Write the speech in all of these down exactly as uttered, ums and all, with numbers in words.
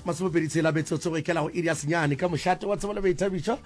Masomepedi tshela metsotso go ikela go iri ya senyane ka mošate wa tsebo le boithabišo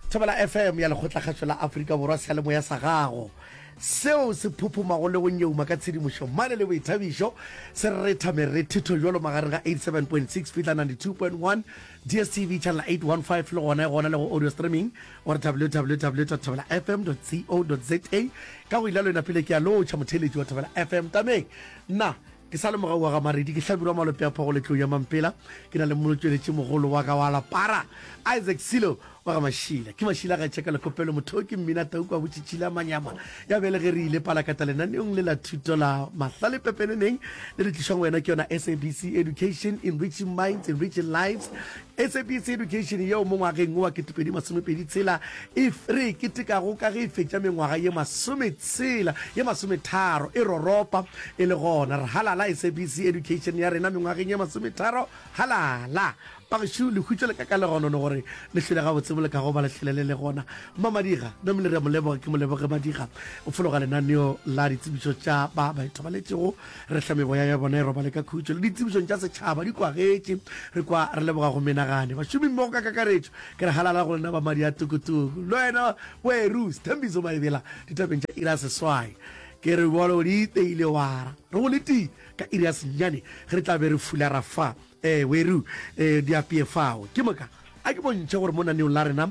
Thobela F M ya Lekgotlakgašo la Afrika Borwa seyalemoya sa gago seo se phophomago le go nyeuma ka tshedimošo mane le boithabišo se retha merethetho jalo magareng ga eighty-seven point six fihla ninety-two point one D S T V channel eight one five le gona e gona le go audio streaming gore W W W dot thobela F M dot co dot za ka go ile lena pele ke a lotšha motheeletši wa Thobela F M tameng nna ke sa le mogau wa ga Maredi ke hlabirwa malope a phogo letlou ya Mampela ke na le motšweletši mogolo wa ka wa lapara Isaac Silo wa ga Mašila ke Mašila ga tšeka lekopelo motho ke mmina tau kwa botšitšhila manyama ya bjale ge re ile palakata lenaneong le la thuto la mahlale pepeneneng le le tlišwang wena ke yona S A B C Education, enriching minds, enriching lives. S A B C Education yeo mo ngwageng wa ketepedi masomepedi tshela e re e ketekago ka ge e fetša mengwaga ye masometshela ye masometharo e roropa e le gona. Re halala S A B C Education ya rena mengwageng ye masometharo halala bagešo lehutšo le ka ka legonono gore le hlwele gabotse mo le ka go ba le hlwele le le gona. Mmamadiga namile re a mo leboga ke mo leboge Madiga o fologa lenaneo la ditsebišo tša ba ba ithobaletšego re hla meboya ya bona e robale ka khutšo le ditsebišong tša setšhaba di kwagetše re kwa re leboga go menagane bašomi mmogo ka kakaretšo ke re halala go lena ba madi a tukutuku le wena weru Sthembiso Maebela ditabeng tša ira seswai ke re bolo di iteile wara re go letile ka iri ya senyane ge re tla be re fulara fa eh weru eh di apeye fao ke moka a ke bontšhe gore mo naneong la rena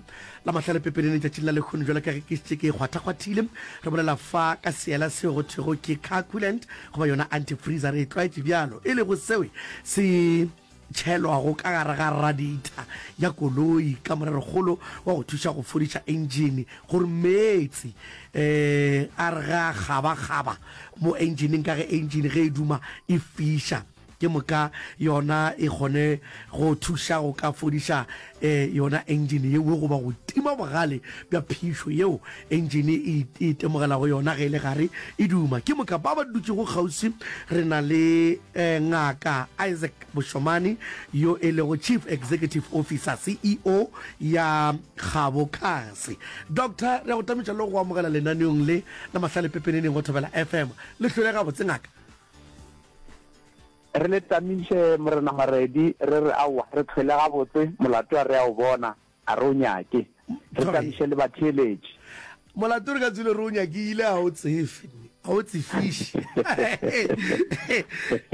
la mahlale pepenene letšatšing la lehono jwalo ka ge ke šetše ke kgwathakgwathile re bolela fa ka seela seo go thwego ke car coolant goba yona antifreezer re e tlwaetše bjalo e lego seo se tšhelwago ka gare ga radiator ya koloi ka morerokgolo wa go thuša go fodiša engine gore meetse um a re ga kgabakgaba mo engineng ka ge engine ge e duma e fiša ke moka yona e kgone go thuša go ka fodiša um yona engine yeo goba go tima bogale bja phišo yeo engine e itemogelago yona ge e le gare e duma. Ke moka ba ba dutšego kgauswi re na le um ngaka Isaac Boshomane yo e lego Chief Executive Officer C E O ya Kgabo Cars. Doctor, re a go tamiša le go amogela lenaneong le la mahlale pepeneneng go Thobela F M. Le hlwele gabotse ngaka? Re le tamiše morena Maredi re re aowa re tlhwele gabotse molato a re a o bona a re o nyake re tamiše le batheeletši. Molato re ka tswile re o nyakile a o tsefe a o tsefiše.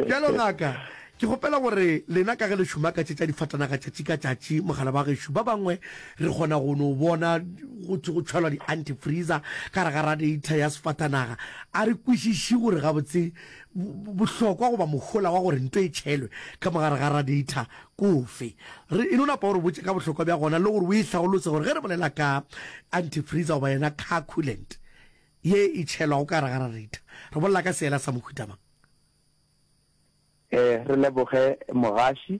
Bjalo ngaka ke kgopela gore lena ka ge le šoma ka tše tša difatanaga tšatši ka tšatši mogala ba gešo ba bangwe re kgona go no bona go thwe go tšhelwa di-antifreezer ka gare ga radiator ya sefatanaga a re kwešiše gore gabotse bohlokwa goba mohola wa gore nto e tšhelwe ka mogare ga radiator kofe. Re e no napa gore botše ka bohlokwa bja gona le gore o e hlaolotse gore ge re bolela ka antifreezer goba yona car coolant ye e tšhelwago ka gare ga radiator re bolela ka seela sa mohuta mang? Eh re leboge mogaši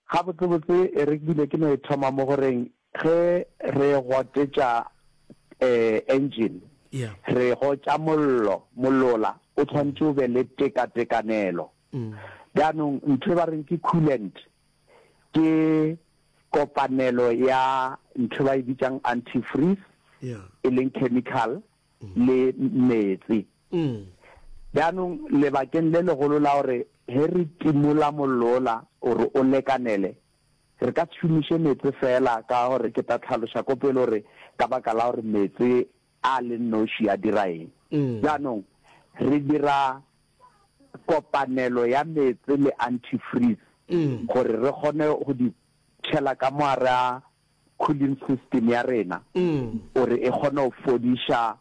gabotsebotse e re bile ke no e thoma mo goreng ge re gotetša eh engine yeah re gotša mollo mollola o tshwanetse o be le tekatekanelo. mm. Jaanong ntho e ba reng ke coolant ke kopanelo ya ntho ba e bitsang antifreeze yeah e leng chemical le metsi. mm. Jaanong lebakeng le legolo la gore he re timola mollola gore o lekanele re ka se šomiše meetse fela ka gore ke tla tlhaloša ko pele gore ka baka la gore meetse a le noši a dira eng. Mm. Jaanong re dira kopanelo ya meetse le antifreeze Mm. gore re kgone go di tšhela ka mo gare a cooling system ya rena Mm. gore e kgone go fodiša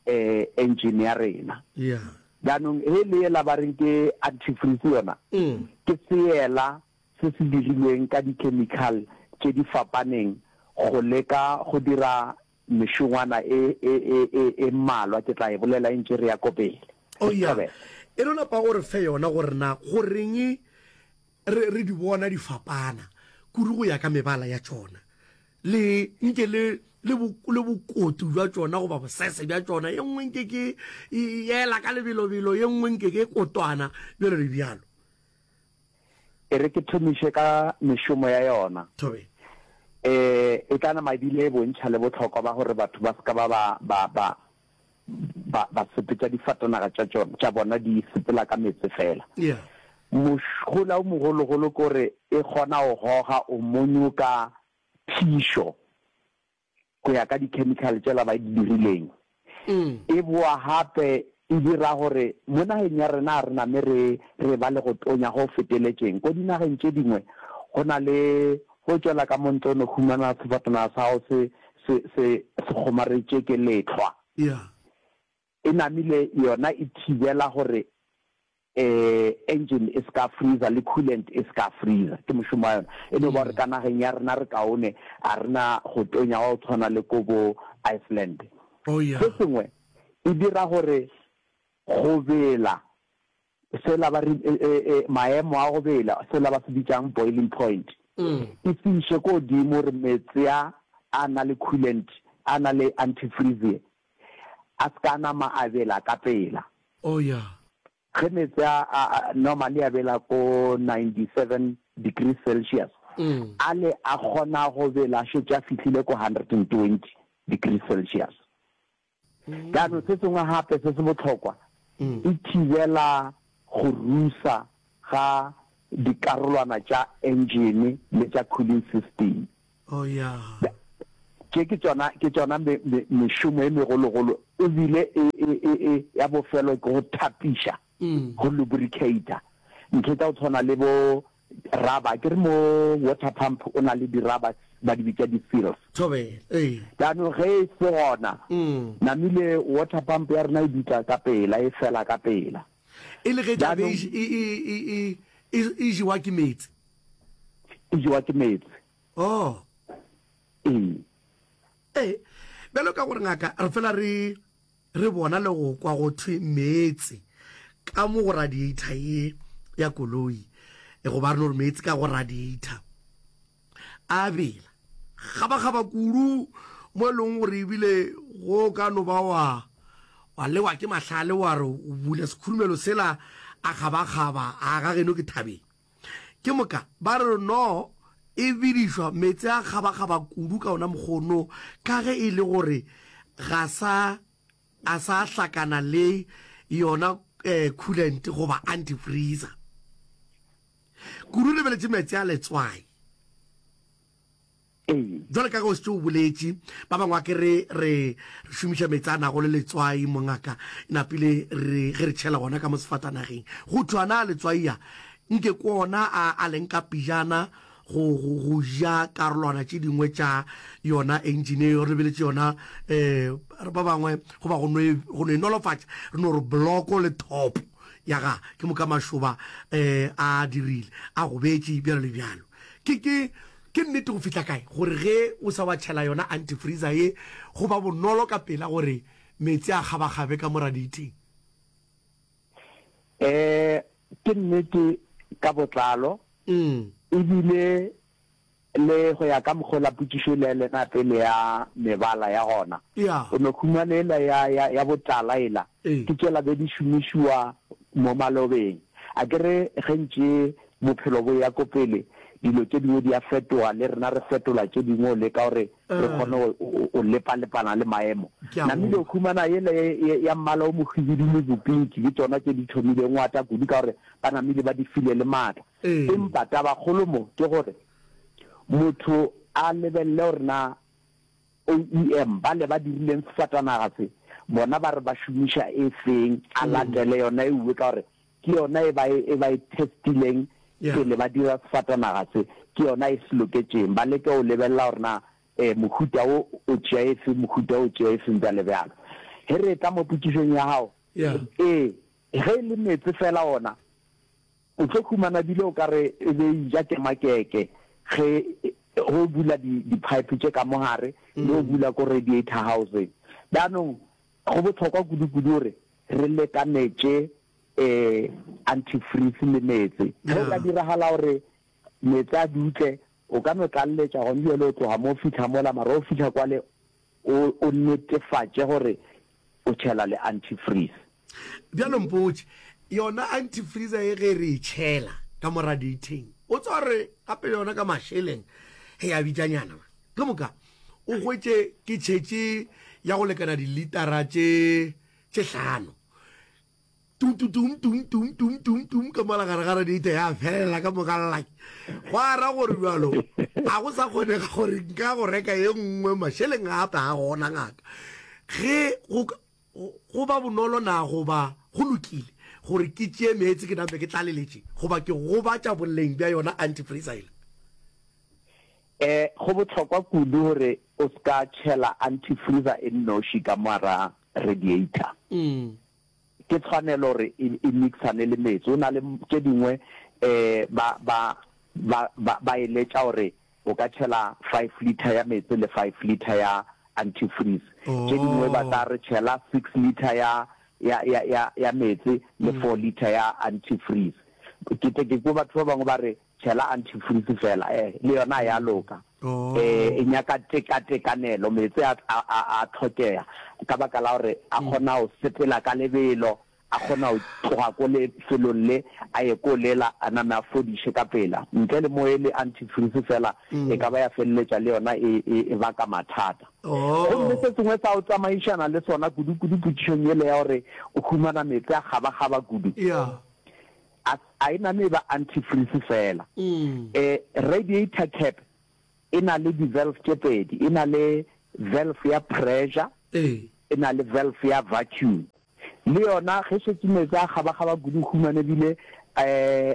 eh engine ya rena. Yeah jaanong he le ela ba reng ke antifreeze yona mm. ke seela se se dirilweng ka di-chemical tše di fapaneng go leka go dira mešongwana e e e e e mmalwa ke tla e bolela e ntše re ya ko pele. Oh yeah e no napa gore fe yona gore na goreng re re di bona di fapana kudu go ya ka mebala ya tšona le nke le le le bokotu bja tšona goba bosese bja tšona ye nngwe nke ke e ela ka lebelobelo ye nngwe nke ke kotwana bjalo le bjalo. E re ke thomiše ka mešomo ya yona. Thobe. Eh e tla nama ebile e bontšha le bohlokwa ba gore batho ba ska ba ba ba ba ba ba sepetša difatanaga tša tšona tša bona di sepela ka meetse fela. Yeah. Mohola o mogologolo ke gore e kgona go goga o monyoka phišo go ya ka di-chemical tšela ba di dirileng. E boa gape e dira gore mo nageng ya rena a re name re re ba le go tonya go feteletšeng. Ko dinageng tše dingwe go na le go tšwela ka mo ntle o no humana sefatanaga sa gago se se se se kgomaretše ke lehlwa. Yeah. E namile yona e thibela gore um engine e se ka freezer le coolant e se ka freezer. Ke mošomo wa yona. E no ba gore ka nageng ya rena re kaone, a re na go tonya wa go tshwana le ko bo Iceland. Oh yeah. Se sengwe e dira gore go bela sela ba re maemo a go bela sela ba se bitsang boiling point e se iše ko godimo gore meetse a a na le coolant a na le antifreeze a se ka nama a bela ka pela. Oh yeah. Ge meetse a a normally a bela ko ninety-seven degrees Celsius, a le a kgona go bela a šetše a fihlile ko hundred and twenty degrees Celsius. Jaanong se sengwe gape se se bohlokwa, e thibela go rusa ga dikarolwana tša engine le tša cooling system. Oh yeah. Tše ke tšona ke tšona me, me, mešomo e megologolo ebile e, e, e, e ya bofelo ke go thapiša, go lubricata ntho tša go tshwana le bo rubber. Ke re mo water pump o na le di-rubber ba di bitša di-seals. Thobela, ee. Jaanong ge e se gona, namile water pump ya rena e dutla ka pela, e fela ka pela. E le ge tla be Jaanong e, e, e, e, e, e jewa ke meetse. E jewa ke meetse. Oh. Ee. Ee, bjalo ka gore ngaka re fela re re bona le go kwa go thwe meetse ka mo go radiator ye ya koloi, e goba re no re meetse ka go radiator a bela gabagaba kudu mo e leng gore ebile go ka no ba wa wa lewa ke mahlale wa re o bula sekhurumelo sela a gabagaba a ga geno ke thabeng. Ke moka ba re no e bidišwa meetse a gabagaba kudu ka ona mokgono ka ge e le gore ga sa a sa hlakana le yona eh, coolant goba antifreezer. Kudu lebeletše meetse a letswai. Ee. Jwale ka ge o šetše o boletše, ba bangwe a ke re re re šomiša meetse a nago le letswai mongaka, napile re ge re tšhela gona ka mo sefatanageng. Go thwe ana a letswai a nke ke ona a a leng ka pejana go go go ja karolwana tše dingwe tša yona engine eo re lebeletše yona eh ba bangwe goba go no e go no e nolofatša re no re bloko le top ya ga ke moka mašoba eh a dirile a gobetše bjalo le bjalo. Ke ke ke nnete go fihla kae gore ge o sa wa tšhela yona antifreezer ye go ba bonolo ka pela gore meetse a kgabakgabe ka mo radiating? Eh ke nnete ka botlalo Mm. ebile le go ya ka mokgwa la potšišo le lena pele ya mebala ya gona. Yeah. O no khumana ela ya ya ya botala ela Ee. ke tšela be di šomišiwa mo malobeng. A ke re ge ntše bophelo bo ya ko pele dilo tše dingwe di a fetoga le rena re fetola tše dingwe o leka gore re kgone go o lepalepana le maemo. Ke a Namile o go. khumana yela ye ya mmala o mohwibidu le bopinki ke tšona tše di thomileng go ata kudu ka gore ba namile ba di file le maatla. Ee. Empa tabakgolo mo ke gore motho a lebelele gore na O E M bale ba dirileng sefatanaga se bona ba re ba šomiša e feng, a latele yona e uwe ka gore ke yona e ba e ba e testileng Yeah. pele ba dira sefatanaga se, ke yona e se loketšeng. Ba leke go lebelela gore na eh mohuta wo o tšea efe, mohuta o tšea efeng bjale bjalo. Ge re etla mo potšišong ya gago, Yeah. ee, ge e le meetse fela ona o tlo khumana bile o ka re e be e ja ke makeke ge go bula di di-pipe tše ka mogare le go bula ko radiator housing. Jaanong go bohlokwa kudu-kudu gore re lekanetše eh antifreeze le meetse. Ge o ka Yeah. diragala gore meetse a dutle, o ka no tlaleletša gone bjale o tloga mo o fihla mola, mara o fihla kwale o o netefatše gore o tšhela le antifreeze. Bjalo mpotše, yona antifreezer ye ge re e tšhela ka mo radiating, o tswa re gape yona ka mašeleng he ya bitšanyana man. Ke moka o hwetše ke tšhetše ya go lekana dilitara tše tše hlano. Tum tum tum tum tum tum tum tum ka mola gare ga radiator ya felela ka moka llaki. Gwa ra gore bjalo a go sa kgonega gore nka go reka ye nngwe mašeleng gape a gona ngaka. Ge go go ba bonolo na goba go lokile gore ke tšee meetse ke nape ke tlaleletše goba ke gobatša boleng bja yona antifreeze yela? E, go bohlokwa kudu gore o se ka tšhela antifreeze e nnoši ka moara radiator. Ke tshwanelo gore e, e mixane le meetse. O na le tše dingwe um ba, ba, ba, ba, ba eletša gore o ka tšhela five litre ya meetse le five litre ya antifreeze. Tše dingwe ba tla re tšhela six litre ya, ya, ya, ya, ya meetse le four litre ya antifreeze. Ke tle ke kwe batho ba bangwe ba re tšhela antifreeze fela, eh, le yona ya loka. Eh, e nyaka tekatekanelo, meetse a, a, a, a hlokega ka baka la gore a kgona go sepela ka lebelo, a kgona go tloga ko lefelong le a ye ko lela, a name a fodiše ka pela. Ntle le mo e le antifreeze fela e ka ba ya feleletša le yona e, e, e baka mathata. Gomme se sengwe sa go tsamaišana le sona kudu-kudu potšišong yele ya gore o humana meetse a kgabakgaba kudu, a, a e name e ba antifreeze fela. Eh, radiator cap e na le di-valve tše pedi, e na le valve ya pressure, e na le valve ya vacuum. Le yona ge šetše meetse a kgabakgaba kudu, o humane ebile um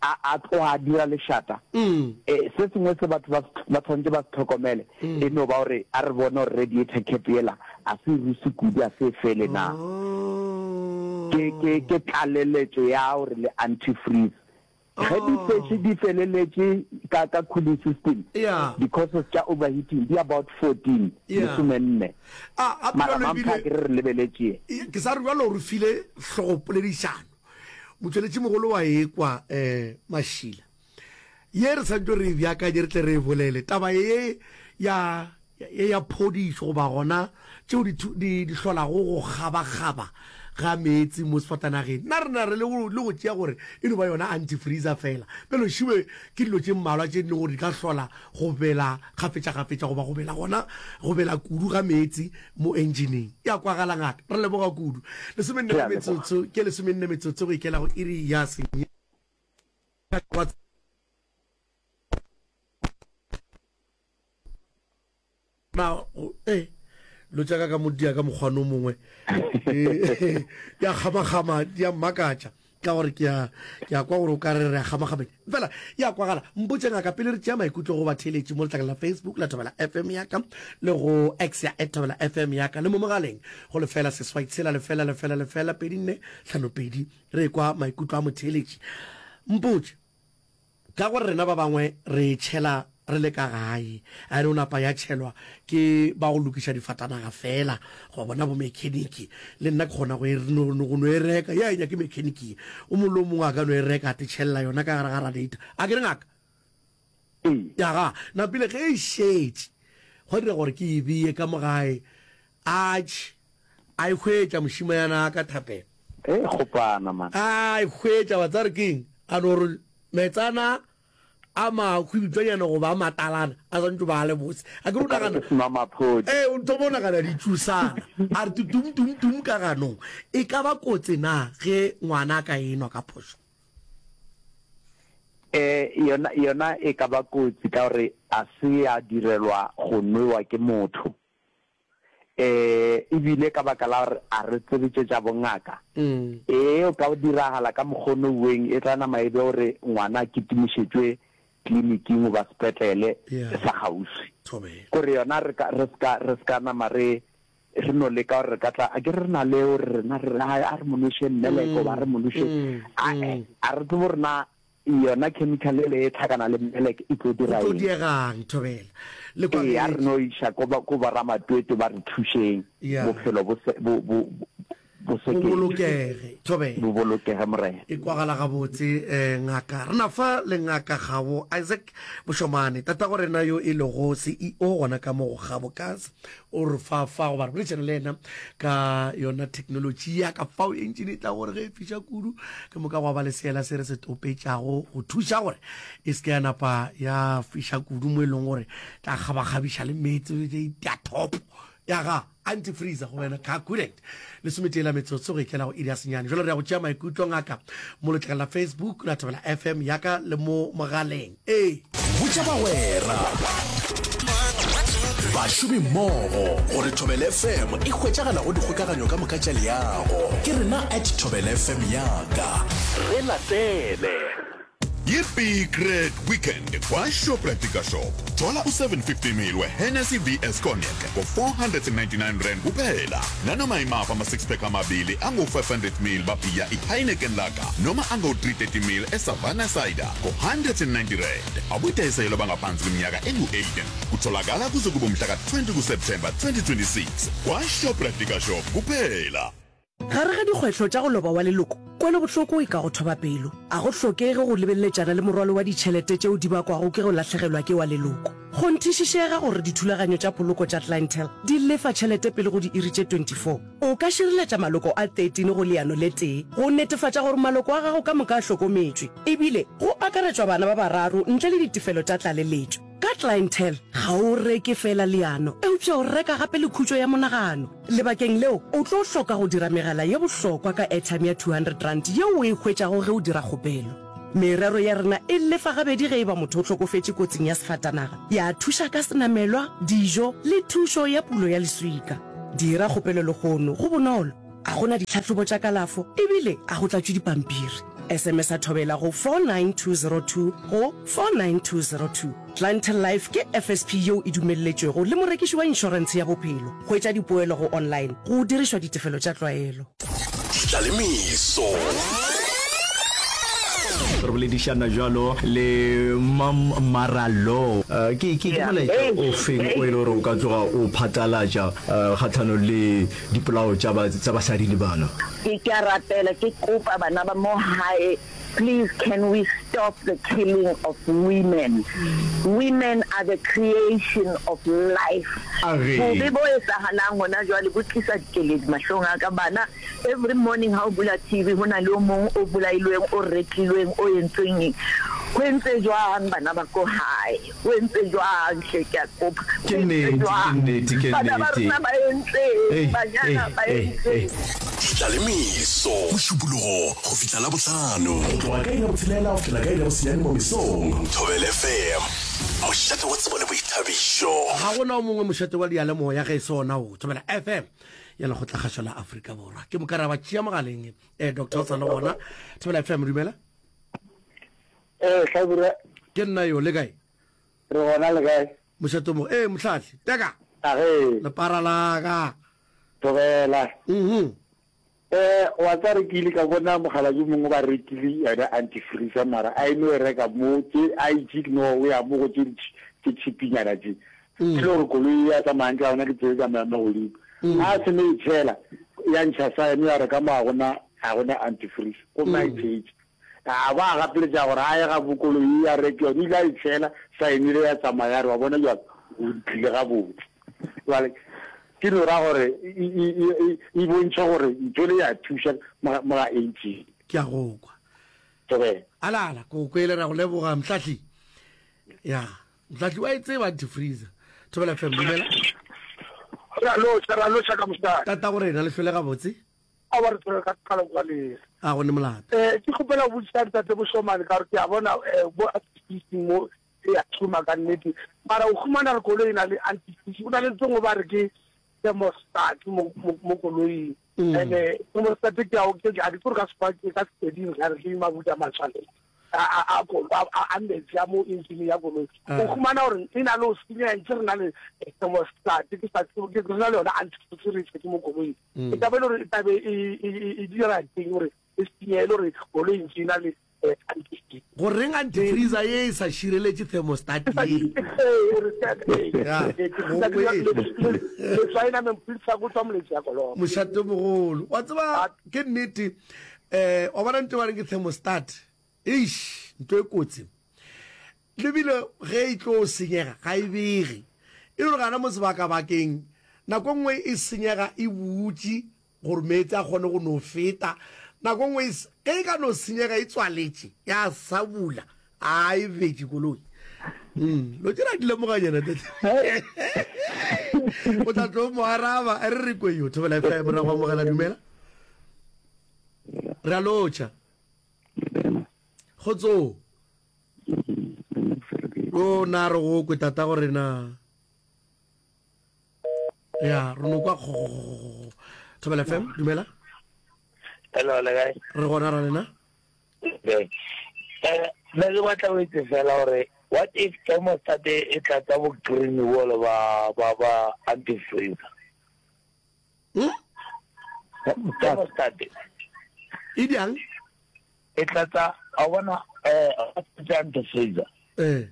a, a tloga a dira lešata. Eh, se sengwe se batho ba, ba tshwanetse ba se hlokomele e no ba gore a re bone gore radiator cap yela a se ruse kudu, a se e fele na. Ke, ke, ke tlaleletšo ya gore le antifreeze. Ge di šetše di feleletše ka, ka cooling system, Yeah. di-causes tša overheating di about fourteen, Yeah. lesomenne. A, gape Mara bjalo mampha ebile ke re re lebeletše. Ke sa re bjalo re file hlogopoledišano. Motšweletšimogolo wa ekwa um Mašila. Ye re santšo re e beakanye re tle re e bolele. Taba ye ya ye ya phodišo goba gona tšeo di di di hlolago go kgabakgaba ga meetse mo sefatanageng. Nna re na re le go le go tšea gore e no ba yona antifreezer fela. Bjalo šiwe ke dilo tše mmalwa tše di lego gore di ka hlola go bela kgafetšakgafetša goba go bela gona go bela kudu ga meetse mo enjeneng. Ya kwagala ngaka. Re leboga kudu. Lesomenne Re a leboga. metsotso ke lesomenne metsotso go ikela go iri ya senyane. Na eh lo tša ka ka mo dia ka mokgwane o mongwe di a kgamakgama di a mmakatša ka gore ke a ke a kwa gore o ka re re a kgamakgameng fela ya kwagala. Mpotše ngaka pele re tšea maikutlo go batheeletši mo letlakeng la Facebook la Thobela F M ya ka le go X ya at Thobela F M ya ka le mo mogaleng go lefela seswai tshela lefela lefela lefela pedi nne hlano pedi re kwa maikutlo a motheeletši. Mpotše Ka gore rena ba bangwe re e tšhela re le ka gae, a e no napa ya tšhelwa ke ba go lokiša difatanaga feela, goba bona bomekheniki. Le nna ke kgona go e, no, go no e reka. Ye a e nyake mekheniki ye. O mongwe le o mongwe a ka no e reka, a te tšhelela yona ka gare ga radiator. A ke re ngaka? Ee. Ya ga. Napile ge e šetše, gwa dira gore ke e beye ka mo gae. Atšhe, a e hwetša mošimanyana a ka thapelo. E kgopana man. A e hwetša, wa tseba re ke eng? A no re metsana a mahwibitswanyana goba a matalana a swantšwe ba a le bose. A ke re o O ka re nagana, ke senwamaphodi. ee, o thoma o nagana ditšusana. A re tum tum tum ka ganong. E ka ba kotsi na ge ngwana a ka enwa ka phošo? Ee, yona, yona e ka ba kotsi ka gore a se ya direlwa go nwewa ke motho. Ee, e bile ka baka la gore a re tsebe tše tša bongaka. Ee, o ka diragala ka mokgono uweng, e tla nama e be gore ngwana a kitimišetšwe kliniking goba sepetlele sa kgauswi. Kore yona re ka, re se ka, re se ka nama re, re no leka gore re ka tla, a ke re re na le gore rena re re, a re mo nweše mmeleko goba a re mo nweše, ae, a re tsebe gore na Yona chemical ele e tlhakana le mmelek e tlo Go dira tlo eng? diegang, Thobela. Le Ee, a re kwagetše. no iša ko ba, ko boramatwetwe ba re thušeng, Ya. bophelo bo se, bo, bo, bo Bo seketše. bolokege, Thobela. Bo bolokege, Morena. E kwagala gabotse, eh, ngaka. Re na fa le Ngaka Kgabo Isaac Mošomane, tatago rena yo e lego C E O gona ka mo go Kgabo Cars. O re fa fa goba re boledišana le yena ka yona technology ya ka fao engine e tla gore ge e fiša kudu ke moka gwa ba le seela se re se topetšago go thuša gore e se ke ya napa ya fiša kudu mo e leng gore tla kgabakgabiša le meetse ya thopo ya ga. Antifreeze go wena car coolant. Lesometee la metsotso go ikela go iri ya senyane. Jwale re ya go tšea maikutlo ngaka mo letlakeng la Facebook la Thobela F M ya ka le mo mogaleng. Ee. Botša bagwera, bašomimmogo gore Thobela F M e hwetšagala go dikgokaganyo ka moka tša leago. Ke rena at Thobela F M yaka. Re latele. Yi-Big Red Weekend kwa-Shoprite Shop. Thola u-seven fifty ml we-Hennessy V S Cognac ngo-four hundred and ninety-nine rand kuphela. Nanoma imaphi ama-six pack amabili angu-five hundred ml babhiya i-Heineken Lager noma angu-three thirty ml e-Savannah Cider ngo-one hundred and ninety rand. Abudayiselwa bangaphansi kweminyaka engu eighteen. Kutholakala kuze kube umhla ka twenty kuSeptemba twenty twenty-six kwa-Shoprite Shop kuphela. Gare ga dikgwetlho tša go loba wa leloko, kwelobohloko e ka go thoba pelo. A go hlokege go lebeleletšana le morwalo wa ditšhelete tšeo di bakwago ke go lahlegelwa ke wa leloko. Kgonthišišega gore dithulaganyo tša poloko tša Clientele di lefa tšhelete pele go diiri tše twenty-four. O ka šireletša maloko a thirteen go leano le tee go netefatša gore maloko a gago ka moka a hlokometšwe, ebile go akaretšwa bana ba bararo ntle le ditefelo tša tlaleletšo. Ka Clientele, ga o reke feela leano, eupša o reka gape le khutšo ya monagano. Lebakeng leo, o tlo hloka go dira megala ye bohlokwa ka airtime ya two hundred rand yeo o e hwetšago ge o dira kgopelo. Merero ya rena e lefa gabedi ge e ba motho o hlokofetše kotsing ya sefatanaga, ya thuša ka senamelwa, dijo le thušo ya pulo ya leswika. Dira kgopelo lehono, go bonolo, a go na ditlhahlobo tša kalafo ebile a go tlatšwe dipampiri. S M S a Thobela go four nine two zero two go four nine two zero two. Clientele Life ke F S P yeo e dumelletšwego le morekiši wa inšorentshe ya bophelo. Hwetša dipoelo go online go dirišwa ditefelo tša tlwaelo. Tlalemeso. Re boledišana jalo le Mam Maralo. Eh, ke ke ke molaetša o feng o e le gore o ka tloga o phatlalatša eh, kgatlhanong le dipolao tša ba- tša basadi le bana? Ke ke a rapela, ke kopa bana ba mo hae, please, can we stop the killing of women? Women are the creation of life. Age. Bobe bo etsahalang hona jwale bo tlisa dikeledi mahlong a ka. Bana, every morning ha o bula T V, ho na le o mong o bolailweng, o retlilweng, o entsweng eng. Ho entse jwang bana ba ko hae? Ho entse jwang hle, ke a kopa? Ke Ho entse nnete, ke jwang? nnete, ke Bana ba nnete. rona ba entseng? Ei, Banyana ei, ba ei, ei. entseng? Tlalemeso. Mošupologo go fihla la bohlano. Go tloga ka iri ya botshelela go fihla ka iri ya bosenyane mo mesong. Thobela F M. Mošate wa tsebo le boithabišo. Ga gona o mongwe mošate wa diyalemoya ge e se ona o Thobela F M ya Lekgotlakgašo la Afrika Borwa. Ke moka ra ba tšea mogaleng. um doctor o sa le gona. Thobela F M, dumela. Ee, Hlabirwa. Ke nna yo, le kae? Re gona, le kae? Mošate mo ee mohlahli teka. Age. Lepara laka. Thobela. Mhm. Eh, wa tsa re ke ile ka bona mokgalabje mongwe ba rekile yona antifreeze, mara a eno e reka mo tse a itse no o ya mo go tse di tse cheapinyana tse. Ke le gore koloi ya tsamayang ka yona ke tse tsamayang mo godimo. A se ne e tshela ya ntšha sa yone ya re ka mo ga gona ga gona antifreeze, gomme a e tshetše. A ba a gapeletša gore a ye ga bo koloi ya reke yone, ile a e tshela saenile ya tsamaya, ya re wa bona jalo o tlile gabotse. Jwale ke no ra gore e- e e- e bontšha gore ntho le ya thuša mo ga- mo ga engine. Ke a go kwa. Thobela. Alala ko kwele, ra go leboga mohlahli. Ya mohlahli wa e tseba antifreeze. Thobela F M, dumela. Ra lotšha, ra lotšha ka mosadi. Tata go rena, le hlole gabotse. A ba re tshwere ka kgala kwa lere. A go ne molato. um ke kgopela go botšiša ntate Bošomane, ka gore ke a bona um bo antifreeze mo e a šoma ka nnete, mara o humana re koloi e na le antifreeze, o na le tsengwe ba re ke thermostat mo mo- mo koloing. Mm. And-e thermostat ke ao ke a di tsore ka sekgwa ke ka Sepeding ga re ke mabuta matshwanelo a a- a kolo- a a- a metsi a mo engine ya koloi. Ah. O humana gore e na le o senya ntse re na le eh, thermostat, ke sa tsebe, ke re na le yona antifreeze re e tshetse mo koloing. Mm. E tlabe e le gore e tlabe e e- e- e dira teng gore e senye, e le gore koloi ntse e na le eh, antifreeze. Goreng antifreeze ye e sa šireletše thermostat ye? Ya, go kwele. Mošate mogolo wa tseba ke nnete, um wa bona nto ba reng ke thermostat, eish, ntho e kotsi lebile ge e tlo senyega ga e bege, e le gore gana mo sebakabakeng nako nngwe e senyega e butše gore meetse a kgone go no feta. Nako nngwe e s- ge e ka no senyega e tswaletše ya sa bula, a e betše koloi. Mm, lo tšela di lemoganyana tate. O tla tlo mo araba a re re kwe yo Thobela F M ra go amogela dumela. Re a lotšha. Kgotso. O na re go kwe tata gore na. Ya, re no kwa kgo. Thobela F M dumela. Hello, le kae? Re gona ra lena. Okay. Eh, nna ke batla go itse fela gore what if thermostat e tlatsa bo green bolo ba ba ba antifreeze? Hmm? Thermostat E bjang? E tlatsa a bona eh tsa antifreeze. Eh.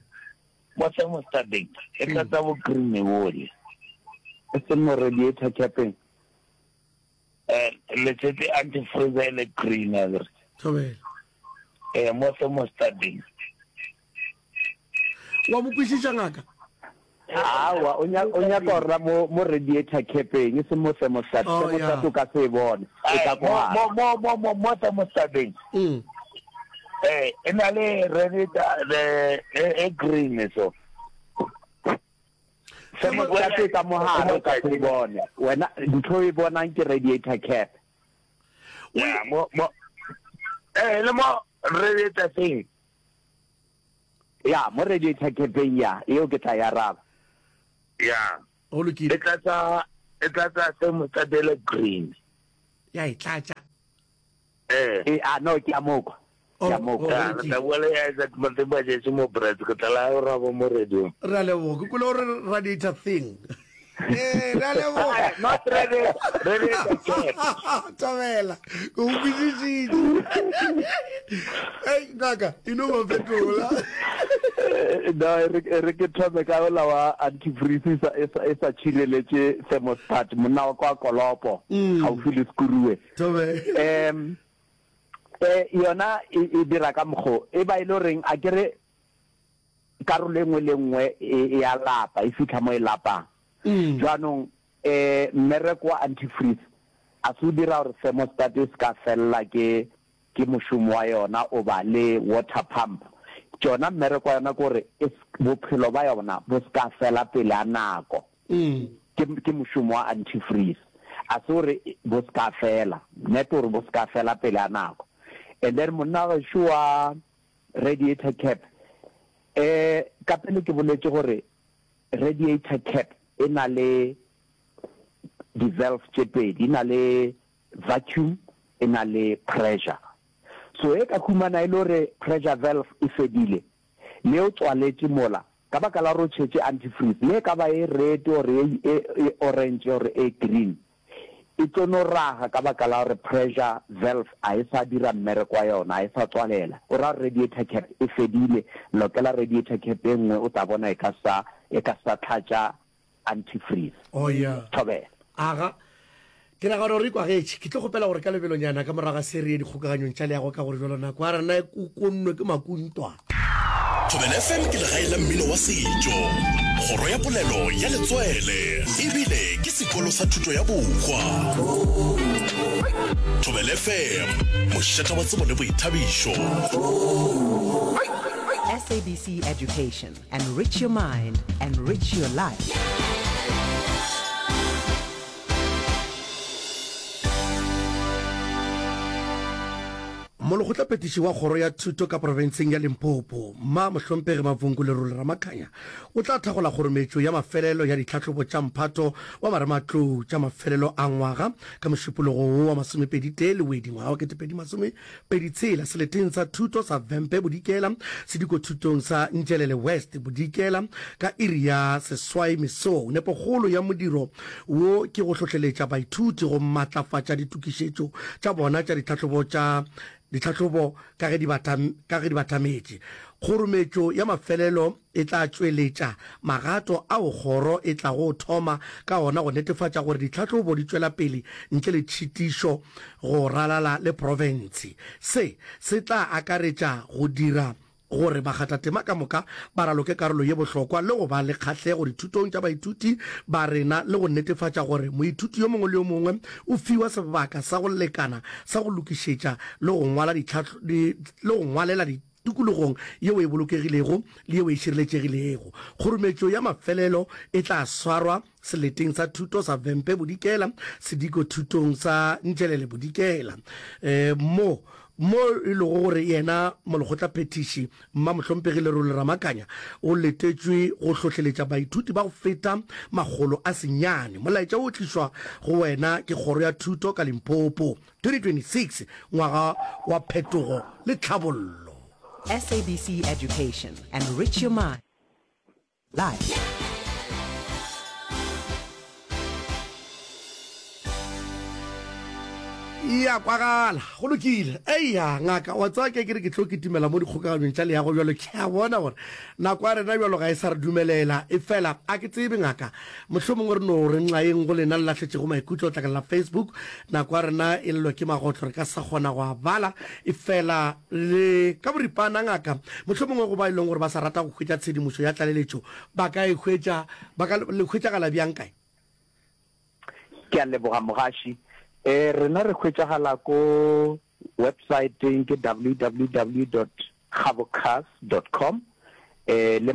Mo thermostateng e tlatsa bo green bole. E seng mo radiator capeng. Eh, le tshetse antifreeze e le green a kere. Thobela. Eh, mo thermostateng. Wa mo kwešiša ngaka? Aowa, o nya- o nyaka go ra mo mo radiator capeng, e seng mo thermostat. Oh, Thermostat yeah. o ka se e bone, e Eh, ka ko mo gare. mo mo mo mo mo thermostateng. Mm. Eh, e na le radiator the e e green so. Thermostat e ka mo gare o ka se e bone. Wena ntho e bonang ke radiator cap. Yeah, mo mo eh le mo radiator thing. Ya, mo radiator capeng ya, eo ke tla e araba. Yeah. Go lokile. E tlatsa e tlatsa thermostat e le green. Ya e tlatša. Eh. E, a no, ke a mo kwa. Ke a mo kwa. Ya, re tla bua le Isaac Matemba Jesu mo Brits, ke tla la araba mo radio. Re a leboga. Ke kwele gore radiator thing. Eh, re a leboga. Not radiator, radiator cap. Thobela, ke go kwešišitše. Ei, ngaka, e no ba fetola. Eh, no, e re, e re ke thome ka ola wa antifreeze e sa, e sa, e sa tšhireletše thermostat, monna wa kwa Kolopo, gaufi le Sekuruwe. Thobela. Em, eh, yona e, e dira ka mokgo, e ba e le goreng a ke re karolo e nngwe le nngwe e, e a lapa, e fihla mo e lapang. Jaanong, eh, mmereko wa antifreeze a se o dira gore thermostat e se ka felela ke, ke mošomo wa yona oba le water pump. Tšona mmereko wa yona ke gore e se, bophelo ba yona bo se ka fela pele a nako. Ke, ke mošomo wa antifreeze. A se gore bo se ka fela, net gore bo se ka fela pele a nako. And then monna gešo wa radiator cap, eh, ka pele ke boletše gore radiator cap e na le di-valve tše pedi, e na le vacuum, e na le pressure. So e ka humana e le gore pressure valve e fedile, le o tswaletše mola, ka baka la gore o tšhetše antifreeze, le e ka ba e red or e, e, e orange or e green, e tlo no raga ka baka la gore pressure valve a e sa dira mmereko wa yona, a e sa tswalela. O ra gore radiator cap e fedile, lokela radiator cap e nngwe, o tla bona e ka sa, e ka sa tlhatša antifreeze. Oh, yeah. Thobela. Aga. Ke nagana gore e kwagetše. Ke tlo kgopela gore ka lebelonyana ka morago ga se re ye dikgokaganyong tša leago ka gore jalo nako ya rena e kukonnwe ke makuntwa. Thobela F M ke legae la mmino wa setšo, kgoro ya polelo ya letswele, ebile ke sekolo sa thuto ya bohwa. Thobela F M, mošate wa tsebo le boithabišo. S A B C Education, enrich your mind, enrich your life. Molekgotlaphethiši wa Kgoro ya Thuto ka profenseng ya Limpopo, Mma Mohlomphegi Mavhungu Lerole Ramakhanya, o tla thagola kgorometšo ya mafelelo ya ditlhahlobo tša mphato wa marematlou tša mafelelo a ngwaga ka Mošupologo wo wa masomepedi tee Lewedi ngwaga wa ketepedi masomepedi tshela seleteng sa thuto sa Vhembe Bodikela sedikothutong sa Nzhelele West Bodikela ka iri ya seswai mesong. Nepokgolo ya modiro wo ke go hlohleletša baithuti go matlafatša ditokišetšo tša bona tša ditlhahlobo tša ditlhahlobo ka ge di ka ge di batametše. Kgorometšo ya mafelelo e tla tšweletša magato ao kgoro e tlago thoma ka ona go netefatša gore ditlhahlobo di tšwela pele ntle le tšhitišo go ralala le profense. Se se tla akaretša go dira gore bakgathatema ka moka ba raloke karolo ye bohlokwa le go ba le kgahlego dithutong tša baithuti ba rena le go netefatša gore moithuti yo mongwe le yo mongwe o fiwa sebaka sa go lekana sa go lokišetša le go ngwala le go ngwalela tikologong yeo e bolokegilego le yeo e šireletšegilego. Kgorumetšo ya mafelelo e tla swarwa seleteng sa thuto sa Vhembe Bodikela, sediko thutong sa Nzhelele Bodikela, mo mo e lego gore yena Molekgotlaphethiši Mmamohlomphegi Lerole Ramakanya o letetšwe go hlohleletša baithuti ba go feta makgolo a senyane. Molaetša wo o tlišwa go wena ke Kgoro ya Thuto ka Limpopo. twenty twenty-six Ngwaga wa Phetogo le Tlhabollo. S A B C Education, enrich your mind. Life. Ya kwagala, go lokile. Eya, ngaka, wa tseba ke ke re ke tlo kitimela mo dikgokaganyong tša leago bjalo, ke a bona gore nako ya rena bjalo ga e sa re dumelela. Efela a ke tsebe, ngaka, mohlomongwe re no re nxaeng go lena le lahletšego maikutlo letlakala la Facebook. Nako ya rena e llwa ke magotlo, re ka se sa kgona go a bala. Efela le ka boripana, ngaka, mohlomongwe go ba e leng gore ba sa rata go hwetša tshedimošo ya tlaleletšo, ba ka e hwetša, ba ka le hwetšagala bjang kae? Ke a leboga mogaši. E, rena re hwetšagala ko websaeteng ke W W W dot gabocars dot com e, le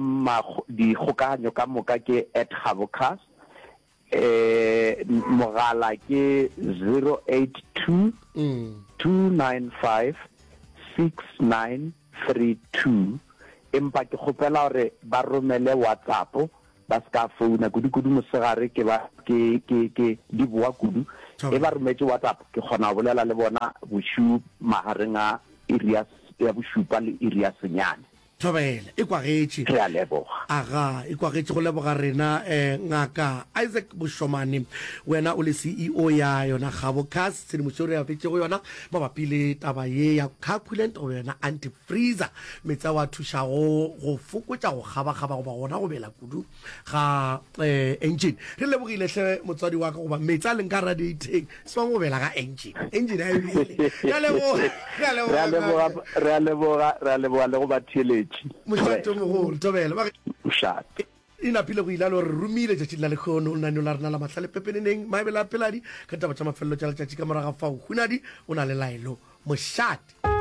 dikgokaganyo ka moka ke at gabocars. E, mogala ke zero eight two two nine five six nine three two empa ke kgopela gore ba romele WhatsApp ba se ka founa kudu-kudu mosegare ke ba ke ke ke di boa kudu e ba rometše WhatsApp ke kgona go bolela le bona bošiu magareng a iri ya ya bošupa le iri ya senyane. Thobela, e kwagetše. Re a leboga. Aga, e kwagetše go leboga rena eh, Ngaka Isaac Boshomane, wena o le C E O ya yona Gabo Cars, tshedimošo re abetšego yona mabapi le taba ye ya car coolant goba yona anti-freezer, meetse ao a thušago go fokotša go kgabakgaba goba gona go bela kudu ga eh, engine. Re lebogile hle motswadi wa ka goba meetse a leng ka radiateng se go bela ga engine, engine a e bele. Re a leboga, re a leboga, re a leboga, re a leboga, re a leboga le go batheeletši. Mošate o mogolo, thobela. Mošate. E napile go ile a le gore romile tšatšing la lekgono lenaneo la rena la mahlale pepeneneng maebele a peladi ka ditaba tša mafelelo tša letšatši ka moraga fao hunadi o na le laelo mošate.